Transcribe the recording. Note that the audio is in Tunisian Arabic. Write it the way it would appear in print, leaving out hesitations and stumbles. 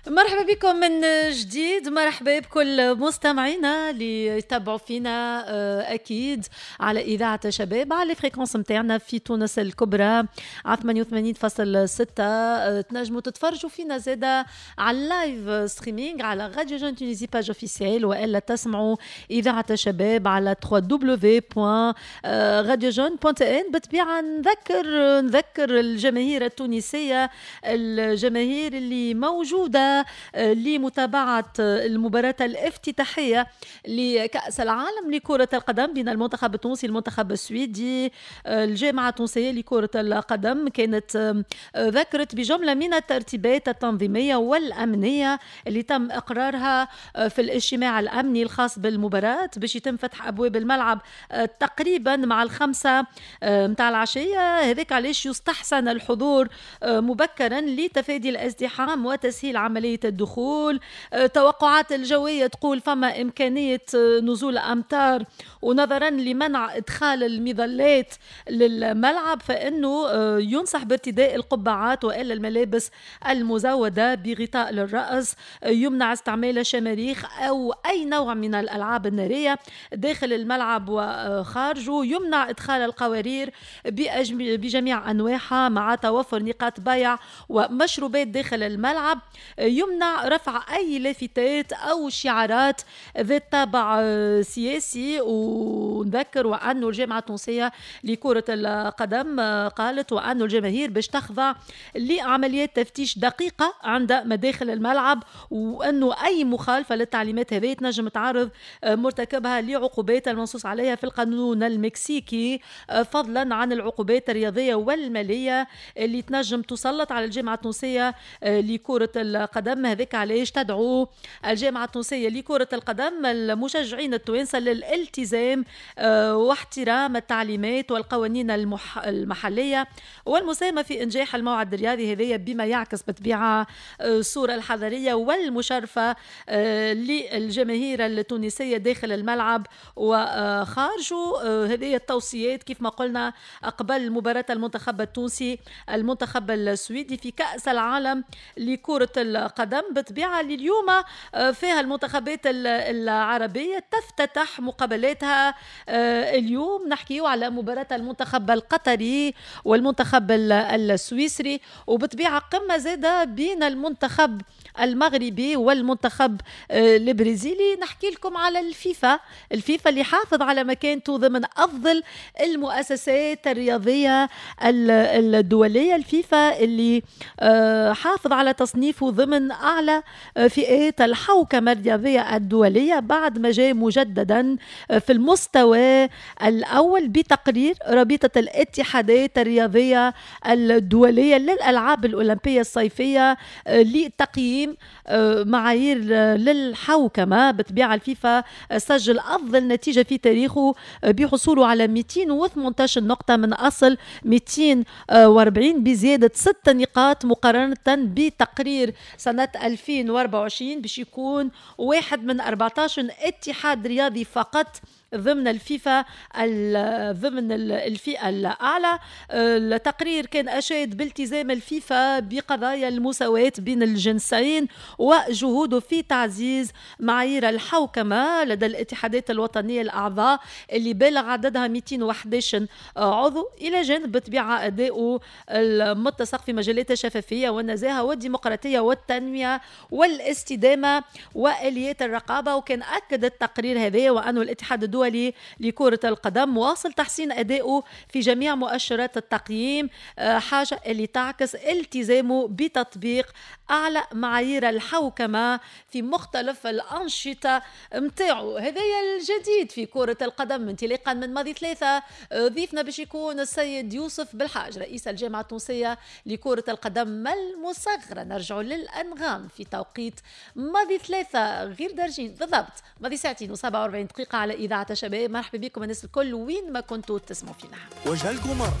مرحبا بكم من جديد، مرحبا بكل مستمعينا اللي يتبعوا فينا اكيد على اذاعة شباب على fréquence نتاعنا في تونس الكبرى على 88.6. تنجموا تتفرجوا فينا زاده على ال live streaming على Radio Jeunes Tunisie page officielle، والا تسمعوا اذاعة شباب على www.radiojeunes.tn. بالطبيعة نذكر الجماهير التونسية، الجماهير اللي موجودة لمتابعة المباراة الافتتاحية لكأس العالم لكرة القدم بين المنتخب التونسي المنتخب السويدي. الجامعة التونسية لكرة القدم كانت ذكرت بجملة من الترتيبات التنظيمية والأمنية اللي تم إقرارها في الاجتماع الأمني الخاص بالمباراة باش يتم فتح أبواب الملعب تقريبا مع 5 متاع العشية. هذاك علاش يستحسن الحضور مبكرا لتفادي الازدحام وتسهيل عملية الدخول. توقعات الجوية تقول فما إمكانية نزول أمطار، ونظرا لمنع إدخال المظلات للملعب فإنه ينصح بارتداء القبعات وإلا الملابس المزودة بغطاء للرأس. يمنع استعمال الشماريخ أو أي نوع من الألعاب النارية داخل الملعب وخارجه. يمنع إدخال القوارير بجميع أنواعها مع توفر نقاط بيع ومشروبات داخل الملعب. يمنع رفع أي لافتات أو شعارات ذات طابع سياسي. ونذكر وأن الجامعة التونسية لكرة القدم قالت وأن الجماهير باش تخضع لعمليات تفتيش دقيقة عند مداخل الملعب، وأنه أي مخالفة للتعليمات هذه تنجم تعرض مرتكبها لعقوبات المنصوص عليها في القانون المكسيكي، فضلا عن العقوبات الرياضية والمالية اللي تنجم تسلط على الجامعة التونسية لكرة القدم. هذاك علاش تدعو الجامعة التونسية لكرة القدم المشجعين التوانسة للالتزام واحترام التعليمات والقوانين المحلية والمساهمة في إنجاح الموعد الرياضي هذايا، بما يعكس بطبيعة الصورة الحضارية والمشرفة للجماهير التونسية داخل الملعب وخارجه. هذه التوصيات كيف ما قلنا قبل مباراة المنتخب التونسي المنتخب السويدي في كأس العالم لكرة القدم. بطبيعة لليوم فيها المنتخبات العربية تفتتح مقابلاتها اليوم. نحكيو على مباراة المنتخب القطري والمنتخب السويسري، وبطبيعة قمة زادة بين المنتخب المغربي والمنتخب البرازيلي. نحكي لكم على الفيفا، الفيفا اللي حافظ على مكانته ضمن أفضل المؤسسات الرياضية الدولية. الفيفا اللي حافظ على تصنيفه ضمن أعلى فئات الحوكمة الرياضية الدولية بعد ما جاء مجددا في المستوى الأول بتقرير رابطة الاتحادات الرياضية الدولية للألعاب الأولمبية الصيفية لتقييم معايير للحوكمة. بطبيعة الفيفا سجل أفضل نتيجة في تاريخه بحصوله على 218 نقطة من أصل 240 بزيادة 6 نقاط مقارنة بتقرير سنة 2024، باش يكون واحد من 14 اتحاد رياضي فقط ضمن الفيفا ضمن الفئة الأعلى. التقرير كان أشاد بالتزام الفيفا بقضايا المساواة بين الجنسين وجهوده في تعزيز معايير الحوكمة لدى الاتحادات الوطنية الأعضاء اللي بالغ عددها 211 عضو، إلى جانب بطبيعة أدائه المتسق في مجالات الشفافية والنزاهة والديمقراطية والتنمية والاستدامة وآليات الرقابة. وكان أكد التقرير هذا وأنه الاتحاد الدولي لكرة القدم واصل تحسين أدائه في جميع مؤشرات التقييم، حاجة اللي تعكس التزامه بتطبيق أعلى معايير الحوكمة في مختلف الأنشطة متاعه. هذا الجديد في كرة القدم انطلاقا من ماضي 3. ضيفنا باش يكون السيد يوسف بالحاج رئيس الجامعة التونسية لكرة القدم المصغرة. نرجع للأنغام في توقيت ماضي 3 غير درجين بالضبط، ماضي 2:47 على إذاعة شباب. مرحبا بكم الناس الكل وين ما كنتوا تسمعوا فينا. وجه القمر.